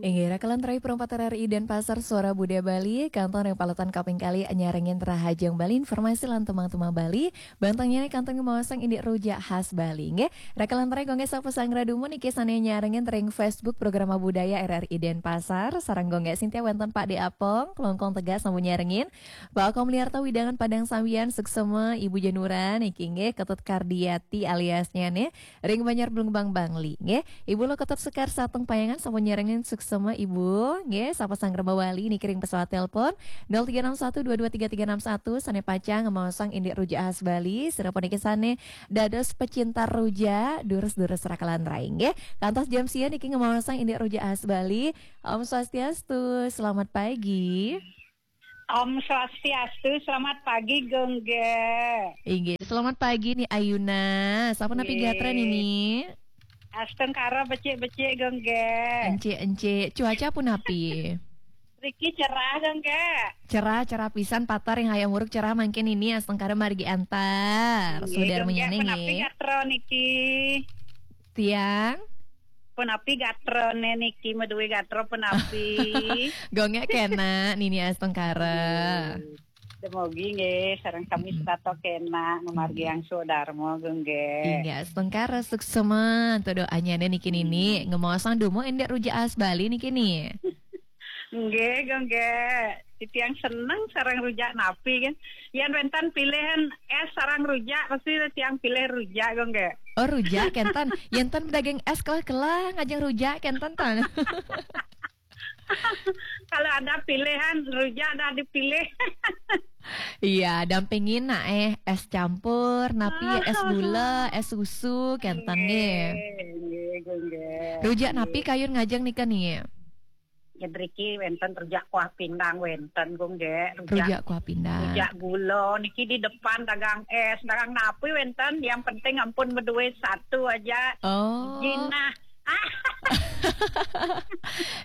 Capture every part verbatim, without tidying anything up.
Inggih, raka lan rai perempat R R I Denpasar, Suara Budaya Bali, kantun ring paletan kaping kalih nyarengin Rahajeng Bali, informasi lan tumang-tumang Bali, bantengnya nih kantun ngemaosang indik rujak khas Bali, nggih. Raka lan rai Gung Gek sapa sanggra dumun niki sane nyarengin ring Facebook Programa Budaya R R I Denpasar, sareng Gung Gek Sintia wenten Pak De Apong, Klongkong Tegas sampun nyarengin, Pak Komliarto Widangan Padang Sambian, suksema, Ibu Januran, niki nggih, Ketut Kardiati aliasnya nih, ring Banjar Blumbang Bangli, nggih. Ibu Lokotop Sekar Sateng Payangan sampun nyarengin, suksema Ibu, nggih, sapa sanggra mawali niki ring pesawat telepon nol tiga enam satu dua dua tiga tiga enam satu, sane pacang ngemaosang indik rujak khas Bali, sira puniki sane dados pecinta rujak, durus-durus raka lan rai, nggih. Kantos jam sia niki ngemaosang indik rujak khas Bali. Om Swastiastu, selamat pagi. Om Swastiastu, selamat pagi, Gung Gek. Inggih, selamat pagi nih Ayuna. Sapa napi Nggih. Gatra nini? Astungkara becik-becik, Gung Gek. Encik-encik. Cuaca punapi? Riki cerah, Gung Gek. Cerah, cerah pisan, patar ring hayam wuruk cerah mangkin nini, astungkara margi antar. Nggih, Saudara Gung Gek, menyanyi punapi nggih. Gatra niki? Tiang? Punapi gatrane niki, maduwe gatra punapi? Gung Gek kena, nini astungkara. Demogi nggih, sareng sami Mm-mm. setata kena, ngamargiang swadarma, Gung Gek. Inggih, astungkara suksema, antuk doanya niki nini, Mm. ngemaosang dumun indik rujak khas Bali niki ni. Nggih, Gung Gek. Titiang seneng sareng rujak napi kan. Yen wenten pilihan es sareng rujak, pasti tiang pilih rujak, Gung Gek. Oh, rujak kenten. Yen ten daging es kelah-kelah ngajeng rujak kenten ten. Kalau ada pilihan, rujak dah dipilih. Iya, dampingin nak eh es campur, napi es gula, es susu, kenten nggih. Nggih, nggih, Gung Gek. Rujak napi Nggih. Kayun ngajeng nika nih? Ya, driki wenten rujak kuah pindang wenten, Gung Gek. Rujak, Rujak kuah pindang. Rujak gula niki di depan dagang es, dagang napi wenten, yang penting ampun maduwe satu aja. Oh. Jinah.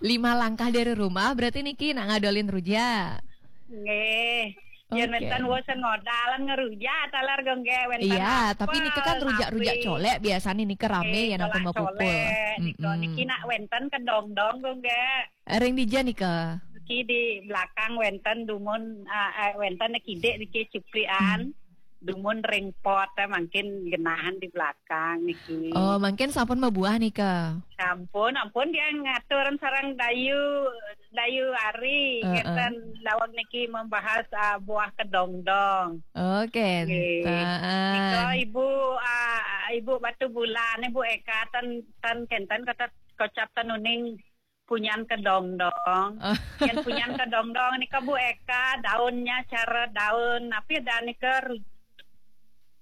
Lima langkah dari rumah, berarti niki nak ngadolin rujak. Nggih. Yen Oke. Wenten bosen ngodalan ngerujak, taler, Gung Gek, wenten Iya, tapi apel, nika kan rujak-rujak napi. Colek biasanya nika rame Nggih, ya nang colak pembawa kumpul. Colek, nika, Mm-mm. Niki nak wenten kedongdong, Gung Gek. Ring dija nika? Niki di belakang wenten dumun, eh, eh, wenten kidik niki ciplikan. Hmm. Dumun ring pot, eh, mangkin genahan di belakang niki. Oh, mangkin sampun mabuah nika? Sampun, ampun dia ngatur sareng Dayu, Dayu Ari, Heeh. Ngeten daweg niki membahas, ah, buah kedongdong. Oke, Nggih. Enten. Nika Ibu, ah, Ibu Batu Bulan, Ibu Eka, ten, ten kenten kata kocap ten uning punyan kedongdong. Oh. Yen punyan kedongdong nika Bu Eka, daunnya cara daun, tapi ada nika ru-,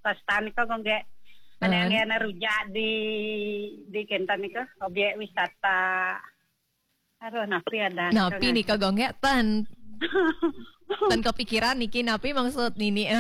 pesta nika, Gung Gek. Ada Heeh. Yang rujak di, di kenten nika, objek wisata. Aduh, napi ada. Napi nika, Gung Gek, ten. Ten kepikiran niki napi maksud nini?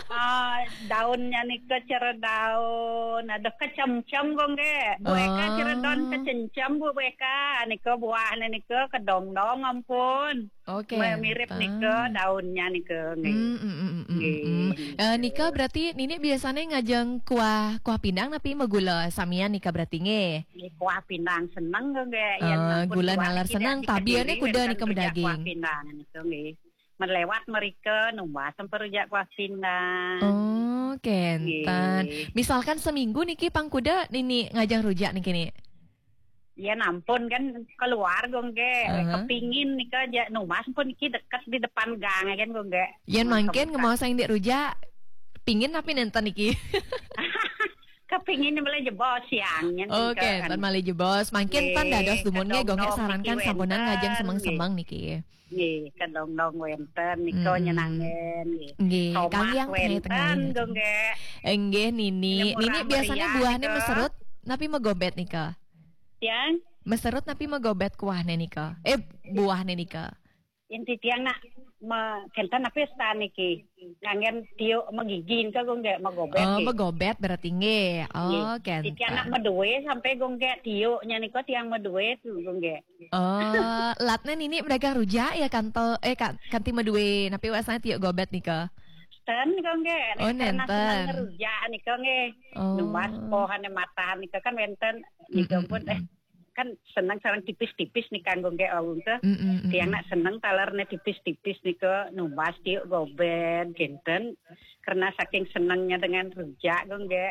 Ah, daunnya nika cara daun. Ada kecemcem, Gung Gek. Bu Eka cara daun Oh. Kecemcem, Bu, Bu Eka. Nika buahnya nika kedongdong ampun. Oke, Me-, mirip enten. Nika daunnya nika, nggih. Hmm, hmm, hmm, hmm, hmm, Nggih, hmm. Eh, nggih. Nika berarti nini biasanya ngajeng kuah, kuah pindang napi magula samian nika berarti nggih? Nggih, kuah pindang seneng, Gung Gek. Yen Eh, ampun gula kuah nalar niki seneng, nek tabiane diketiri kuda wenten nika rujak kuah medaging. Pindang nika, nggih. Melewat mereka, numbas sampai rujak kuah pindang. Oh, kenten. Nggih. Misalkan seminggu niki pang kuda nini ngajeng rujak niki ni? Yen ampun kan keluar, Gung Gek. Heeh. Kepingin nika aja, numbas pun niki deket di depan gang kan, Gung Gek. Yen mangkin ngemaosang indik rujak, pingin napi nenten niki? Kepingin malih jebos siang, nyen Oh, nika kan. Kenten malih jebos. Mangkin pan Nggih, dados dumun nggih, Gung Gek kedongdong sarankan niki sampunang ngajeng wenten, semeng-semeng nggih. Niki. Nggih, kedongdong wenten nika Hmm. nyenangen, nggih. Nggih, Tomat kaliang wenten, tengah-tengah. Gung Gek. Nggih, nini. Nemu Nini biasanya rameriah buahnya nika. Meserut, napi magobet nika? Yang? Meserut napi magobet kuahnya nika? Eh, buahnya nika? Inti tiang nak me-, kenten napi stan niki. Nganggen tiuk magigi nika, Gung Gek, magobet Oh, nggih. Magobet berarti nggih. Oh, nggih. Kenten. Tiang nak maduwe sampai, Gung Gek, tiuknya nika tiang maduwe tu, Gung Gek. Oh, latne nini medagang rujak ya kanto, eh, ka-, kanti maduwe, napi wasane tiuk gobet nika? Ten, Gung Gek. Oh, karena nenten. Seneng rujak nika nggih. Oh. Numbas pohane matahan nika kan wenten nika Mm-mm, pun, eh, mm-mm. kan seneng sareng tipis-tipis nika nggo nggih, Agung, teh. Mm-mm, mm-mm. Tiang nak seneng talernya tipis-tipis nika, numbas tiuk goben kinten, karena saking senengnya dengan rujak nggo nggih.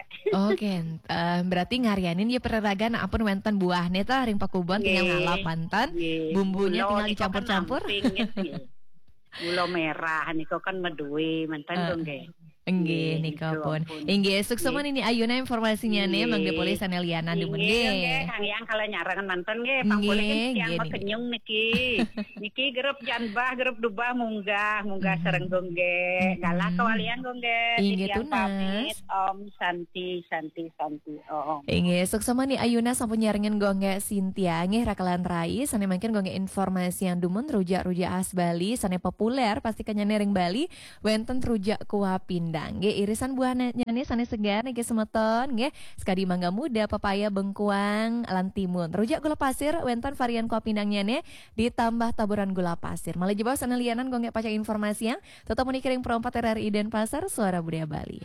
Oke, eh, berarti ngarianin ya pereragan ampun wenten buahnya tah ring pakubon tinggal Nggih. ngalap manten. Nggih. Bumbunya Gula tinggal nika dicampur-campur. kan amping, nggih. Gula merah nika kan medue manten Eh, nggo nggih. Enggih, Nggih, nika niku pun. ampun. Enggih, suksma Nggih. nini ayuna informasinya nih, mangke Nggih. Polih sane lianan dumun Inggih, nggih. nggih, Kang Yang kalau nyarangan manten nggih, pangpulih Nggih, tiang nggih, makenyung niki. Niki grup janbah, grup dubah munggah, munggah Mhm. sareng nggo nggih. Galah Mhm. kawalian nggo nggih. Inggih, Titiang tunas. Pamit, Om Santi, Santi, Santi, Om. Inggih, suksma ni ayuna sampun nyarengin nggo nggih Sintia nggih rakelan rai, sane mangkin nggo nggih informasi yang dumun rujak-rujak khas Bali sane populer pasti kenyane ring Bali, wenten rujak kuah pindang. Nggih, irisan buahnya nih sane segar niki semeton nggih. Sekadi mangga muda, pepaya, bengkuang, lan timun. Rujak gula pasir wenten varian kuah pindangnya nih ditambah taburan gula pasir. Malih jebos sane lianan nggo nggih pacang informasi yang tetap muni ring Pro empat R R I Denpasar, Suara Budaya Bali.